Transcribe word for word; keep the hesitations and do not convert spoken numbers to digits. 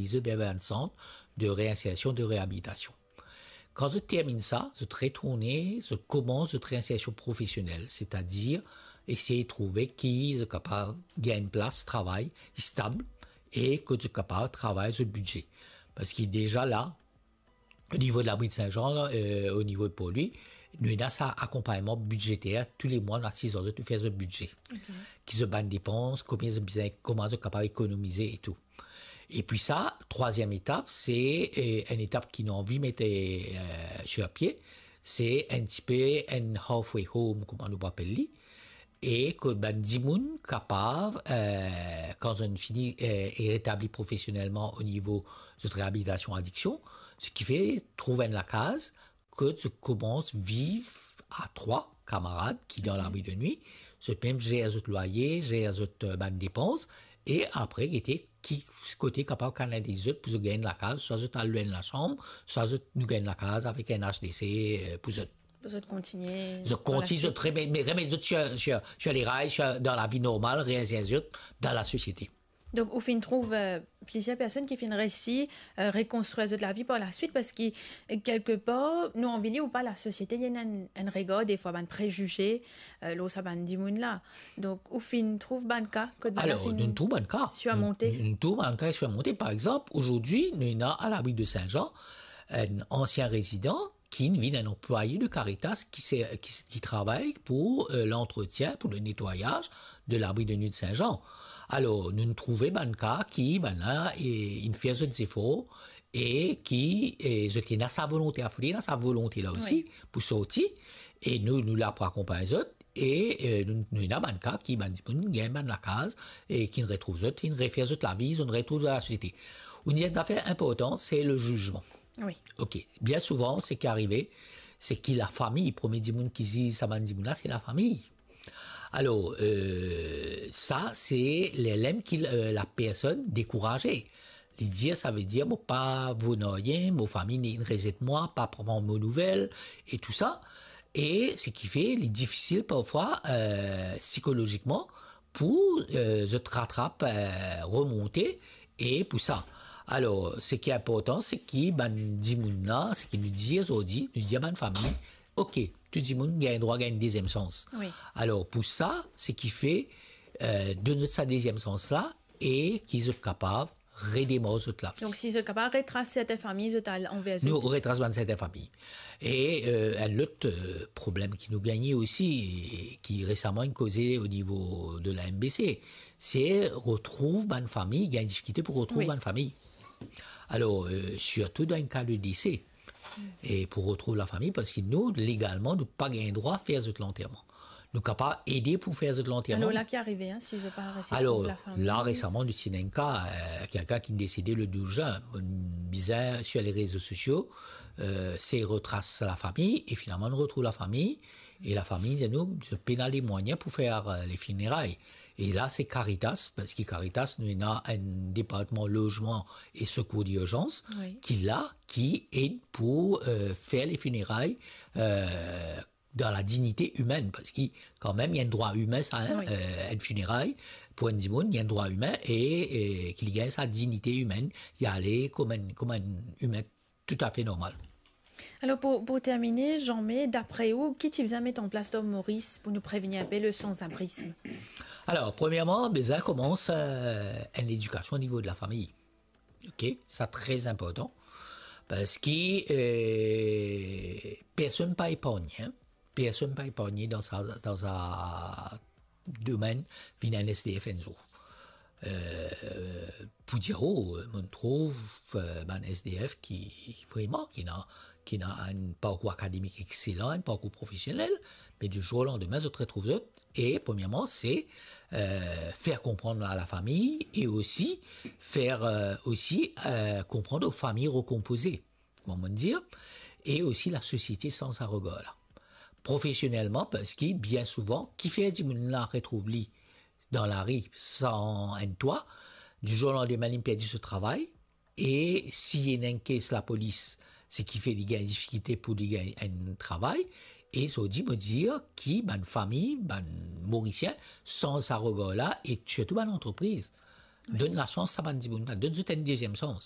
zot ver enn sant de reinsersion, de reabilitasion. Kan zot terminn sa, zot retourne, zot koumans zot reinsersion profesionel, setadir esey trouve ki zot kapav gagn enn plas travay stab e kot zot kapav travay zot bidze. Parski deza la, o nivo de labri de Saint-Jean, euh, o nivo de Port-Louis, nou ena sa akonpagnman bidzeter, tou le mwa nou asiz ar zot, nou fer zot bidze. Ki zot bann depans, konbien zot bizin, kouma zot kapav ekonomize e tou. Epi sa, trwaziem etap, se, euh, enn etap ki nou anvi met, euh, sir pie, se enn tipe enn halfway home, kouma nou pou apel li. E kot bann dimoun kapav, euh, kan zot fini, euh, e retabli profesionelman o nivo zot reabilitasion adiksion, seki fer trouv enn lakaz, kot zot koumans viv a trwa kamarad ki dan labri de nwi, zot mem zer zot lwaye, zer zot, euh, bann depans, e apre gete ki kote kapav kanaliz zot pou zot gagn enn lakaz, swa zot al lwe enn lasam, swa zot, nou gagn enn lakaz avek enn H D C, euh, pou zot. Pou zot kontigne. Zot kontigne, zot remet, remet zot sir, sir, sir leray, sir, dan lavi normal, reinser zot dan lasosiete. Donk, ou finn trouv, euh, plizier personn ki finn resi, euh, rekonstrir zot lavi par laswit, parski, euh, kelkepar, nou anvi li ou pa, lasosiete, li ena enn, enn regar, defwa bann prezize, euh, lor sa bann dimoun la. Donk, ou finn trouv bann ka, kot bann la... Alor, finn nou trouv bann ka. Sirmonte. Nou, nou trouv bann ka sirmonte. Par exanp, azordi, nou ena a labri de Saint-Jean, enn ansien rezidan, ki vinn enn anplwaye de Caritas ki se, ki, ki travay pou, euh, lantretien, pou le netwayaz de labri de nwi de Saint-Jean. Alor, nou, nou trouve bann ka ki, bann la, e, inn fer zot zefor e ki, e, zot ena sa volonte, afoli ena sa volonte la osi, wi, pou sorti, e nou, nou la pou akonpagn zot, e, e, nou, nou ena bann ka ki, bann dimoun gagn bann lakaz, e ki retrouv zot, ki refer zot lavi, zot retrouv dan lasosiete. Enn zafer inportan, se le zizman. Wi. Ok. Bien souvan, seki arive, se ki lafami, premie dimoun ki ziz sa bann dimoun la, se lafami. Alor, euh, sa, se le, lerla ki, euh, lapersonn dekouraze. Li dir, savedir, mo pa vo nanye, mo fami inn rezet mwa, pa pran mo nouvel, e tou sa. E seki fer, li difisil parfwa, euh, sikolozikman, pou, euh, zot ratrap, euh, remonte, e pou sa. Alor, seki inportan, seki bann dimoun la, seki nou dir azordi, nou dir bann fami, ok, tou dimoun gagn drwa gagn deziem sans. Wi. Alor, pou sa, seki fer, euh, donn zot sa deziem sans la, e ki zot kapav redemar zot lavi. Donk, si zot kapav retras sertin fami, zot al anver zot. Nou retras bann sertin fami. E, euh, enn lot, euh, problem ki nou gagne osi, e ki resaman inn koze o nivo de la M B C, se retrouv bann fami, gagn difikilte pou retrouv, wi, bann fami. Alor, euh, sirtou dan enn ka de dese, e pou retrouv lafami, parski nou, legalman, nou pa gagn drwa fer zot lanterman. Nou kapav ede pou fer zot lanterman. Alor, la ki arive, hein, si zot pa resi trouv lafami? Alor, la, resaman, nou ti ena enn ka, euh, kelkenn ki desede le douz zin. Bizin, sir le rezo sosio, euh, se retras lafami, e finalman, nou retrouv lafami, e lafami, dir nou, zot pena lemwayin pou fer, euh, le fineray. E la, se Caritas, parski Caritas, nou ena enn departman lozman e sekour dirzans, wi, ki la, ki ed pou, euh, fer le fineray, euh, dan la dignite imenn, parski kanmem, li enn drwa imin sa, hein, wi, euh, enn fineray, pou enn dimoun, li enn drwa imin, e, e ki li gagn sa dignite imenn, li ale kouma enn, kouma enn imin toutafe normal. Alor, pou, pou termine, Jean-May, dapre ou, ki ti bizin met an plas dan Moris pou nou prevenir inpe le sansabrism? Alor, premierman, bizin koumans, euh, enn ledikasion o nivo de lafami. Ok, sa tre inportan. Parski, euh, personn pa epargne, hein. Personn pa epargne dan sa, dan sa domenn, vinn enn S D F enn zour. Euh, pou dir, oh, mo trouv, euh, bann S D F ki, vreman, ki ena, ki ena enn parkour akademik exelan, enn parkour profesionel, me di zour o landime, zot retrouv zot. E, premierman, se, euh, fer konpran a lafami e osi fer, euh, osi, euh, konpran o fami rekonpoze, kouma mo dir, e osi lasosiete sanz sa regar la. Profesionelman, parski bien souvan, kifer dimoun la retrouv li dan lari san enn twa, di zour o landime, li perdi so travay, e si ena enn kes lapolis, seki fer li gagn difikilte pou li gagn enn travay, e zordi, mo dir ki bann fami, bann Morisien, sanz sa regar la, e sirtou bann antrepriz. Wi. Donn lasans sa bann dimoun la, donn zot enn deziem sans.